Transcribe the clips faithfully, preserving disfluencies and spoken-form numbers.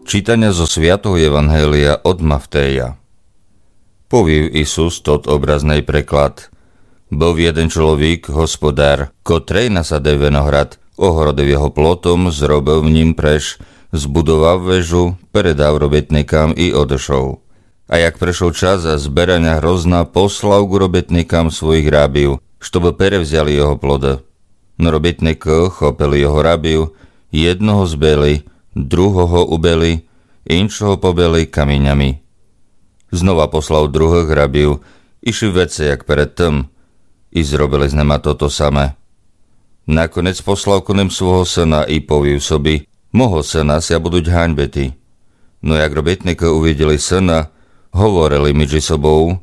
Читаня зо Святого Євангелія од Мавтея. Повів Исус тот образный преклад. Быв єден чоловік, господар, котрый насадив виноград, огородив його плотом, зробив в нїм преш, збудовав вежу, передав робитникам и одышов. А як пришов час збераня грозна, послав ґу робитникам своїх рабів, штобы перевзяли його плоды. Но робитникы хопили його рабів, єдного збили, другого убили, иншого побили каминями. Знова послав другых рабів, ище вецей як перед тым, и зробили з нима тото саме. Наконець послав ко ним свого сына и повів собі: Мого сына ся будуть ганьбити. Но як робитникы увиділи сына, говорили меджі собов: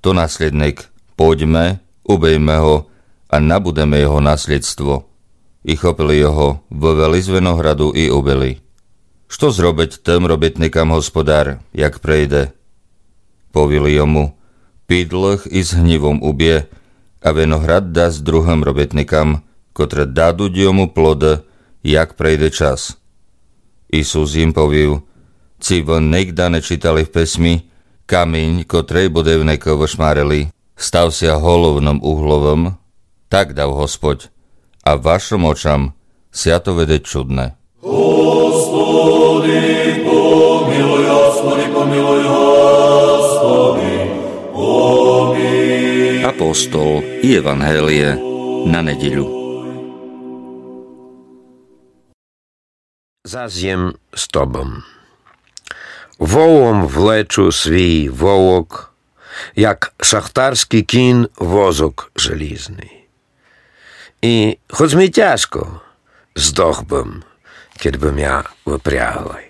То наслідник, пойдьме, убийме го, а набудеме його наслідство. И хопили його, вывели з винограду и убили. Што зробить тым робитникам господар, як прийде? Повіли йому: Підлых из гнівом убє, а виноград дасть другым робитникам, котры дадуть йому плоды, як прийде час. Исус їм повів: Ци вы нигда не читали в писмі: Камінь, котрый будивникы вышмарили, став ся головным угловым? Так дав Господь, а вашым очам ся то видить чудне. Господи, помилуй, Господи, помилуй, Господи, помилуй. Апостол и Євангеліє на недїлю. Зас єм з тобом. Волом влечу свій волок, як шахтарськый кін возок желізный. И хоц мі тяжко, здох бым, кед бы мя выпрягли.